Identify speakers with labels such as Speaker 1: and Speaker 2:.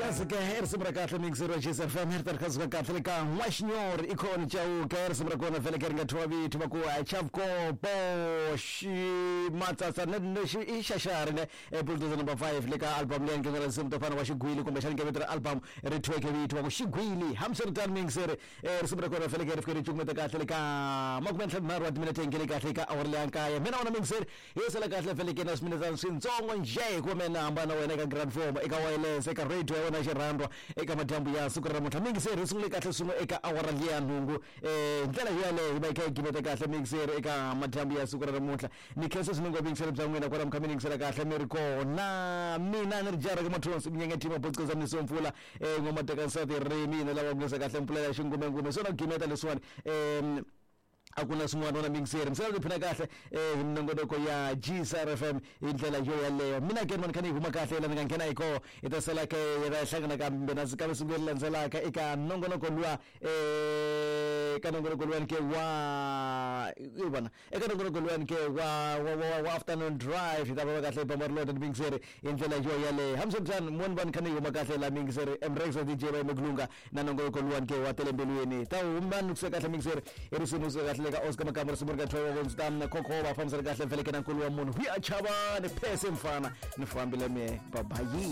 Speaker 1: Kasi ke i risimu ra kahle mixer wa Jis FM ri ta ri kha kahle le ka N'waxinyori ikhona Chauke i risimu ra kona vhele ke ri nga thyiwa vito va ku Chavkopo Ximatsatsa i xaxari ne bulldozer number 5 le ka album leyi nge risimu to fana wa xigwili kumbexana nge vito ra album ri thyiweke vito va ku xigwili. Hambiswiritano mixer risimu ra kona vhele ke ri fike ri cukumeta kahle le ka 53 wa timinete nge le kahle ka awara leya nkaye. Mina wona mixer hi sala kahle vhele ke na swiminetana swintsongo njhe hikuva mina hambana wena eka grand form eka wireless eka radio ya wena ya xirhandwa eka madyambu ya siku ra namuntlha. Mixer hi sungule kahle swin'we eka awara liya nhungu hi ndlela yoyaleyo hi va hi kha hi gimeta kahle mixer eka madyambu ya siku ra namuntlha. Ni khensa swinene ngopfu yingisela bya n'wina kwala mi kha mi ni yingisela kahle mi ri kona. Mina ni ri jara ka mathonsi minyenge team botsikeza mnisi wa mpfula ngoma teka nsati ri mina lava ku kahle mpfula ya xingumengume swona ku gimeta leswiwani a ku na swin'wana wona mixer mi sala tiphina kahle hi minongonoko ya GSR FM hi ndlela yo yaleyo. Mina ke mani kha ni huma kahle la ni nga nghena hi koho hi ta sala ke hi ta hlangana kambe na kambe siku leri landzelaka eka nongonoko luwa ka nongonoko luwani ke wa i vona eka nongonoko luwani ke wa wa wa wa afternoon drive hi ta va kahle hi bamba ri lota mixer hi ndlela yo yaleyo. Hambiswiritano moni vani kha ni huma kahle la mixer Mrex DJ va Meglunga na nongonoko luwani ke wa telembelweni ta huma ni kusuka kahle mixer i risimu suka kahle le ka Oscar Makamba risimu ri ka thyiwa vonzi ta Khokhoba fambisana kahle mfeleke na nkulu wa munhu huya chavani phese mfana ni fambile me babayi.